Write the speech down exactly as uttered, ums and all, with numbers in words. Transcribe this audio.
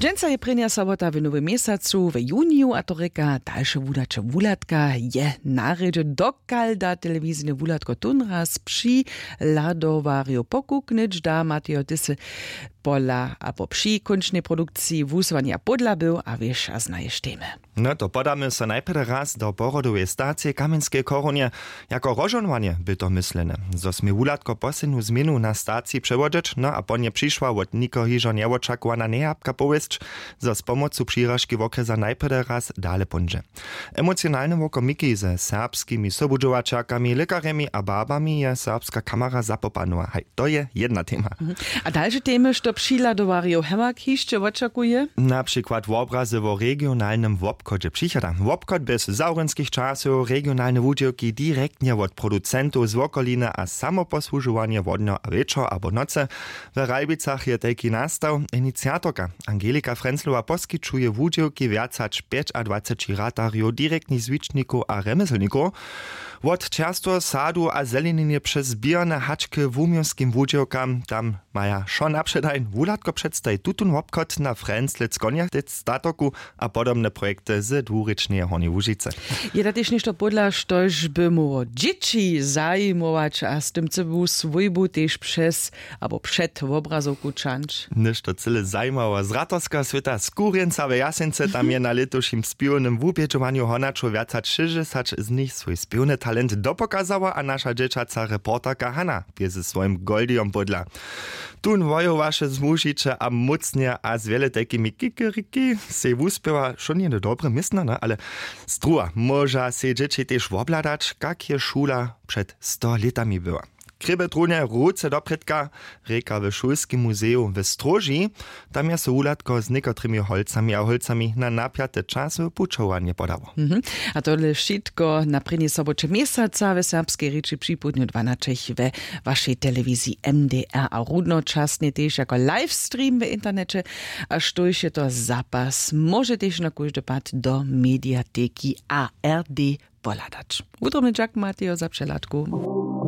Dźensa je prěnja sobota w nowym měsacu w juniju a to rěka dalše wudaće wuhladka je na rědźe, dokal da telewizijne wuhladko tónraz přihladowarjow pokuknyć da matejo tysy pola abo při kónčnej produkciji wuhłosowanja pódla był a wěša znaješ temy. No to podamy so najprjedy raz do porodoweje stacije w kamjenskeje chorunje. Jako rozžohnowanje by to myslene, zo smě wuhladko poslednu změnu na staciji přewodźeć, no a po nje přišła wot nikoho hižo njewočakowana njejapka powěsć, zo z pomocu přiražki wokrjesa najprjedy raz dale póńdźe. Emocionalne wokomiki ze serbskimi sobudźowaćerkami, lěkarjemi a babami je serbska kamera zapopanowa haj, to je jedna tema. A dalše temy što přihladowarjow hewak hišće wočakuje? Na přikład wobrazy wo regionalnym wobchodźe přichada wobchod bjez zawrynskich časow regionalne wudźěłki direktnje wot producentow z wokoliny a samoposłužowanje wodnjo a wječor abo nocy. W ralbicach je tajki nastaw. Iniciatorka angelika frenzlowa poskićuje wudźěłki wjac hač pjećadwaceći ratarjow direktnych zwičnikow a rjemjeslnikow, wot čerstweho sadu a zeleninje přez běrne hačke wuměłskim wudźěłkam tam maja wšo napředajn wuhladko předstaji tutón wobchod na frenzlec konjatec statoku a podobne projekty z dwurěčneje hornjeje łužicy. Je da tež něšto pódla štož by móhło dźěći zajimować a z tym cyłu swójbu tež přez abo před wobrazowku čanč? Něšto cyle zajimało z ratorskeho swěta z kurjenca w jasency tam je na lětušim spěwnym wubědźowanju honaćow wjac hač šěsćdźesać z nich swój spěwny talent dopokazała a naša dźěćaca reporterka hana bě ze swojim goldijom pódla. Tón wojowaše zmužiće a mócnje a z wjele tajkimi kikeriki sej wuspěwa wšo njene dobre městnane ale struha móža sej dźěći tež wobhladać kak je šula před sto lětami była. Krěbetruhnje ruce doprědka rěka w šulskim muzeju w stróži. Tam je so wuhladko z někotrymi holcami a holcami na napjate časowe pućowanje podało. A tole wšitko na prěni soboće měsaca w serbskej rěči připołdnju dwanaćich we wašej telewiziji mdr a runnočasnje tež jako livestream w interneće. A štóž je to zapas móže tež na kóždy pad do mediateki ard pohladać. Wutrobny dźak matejo za přehladku.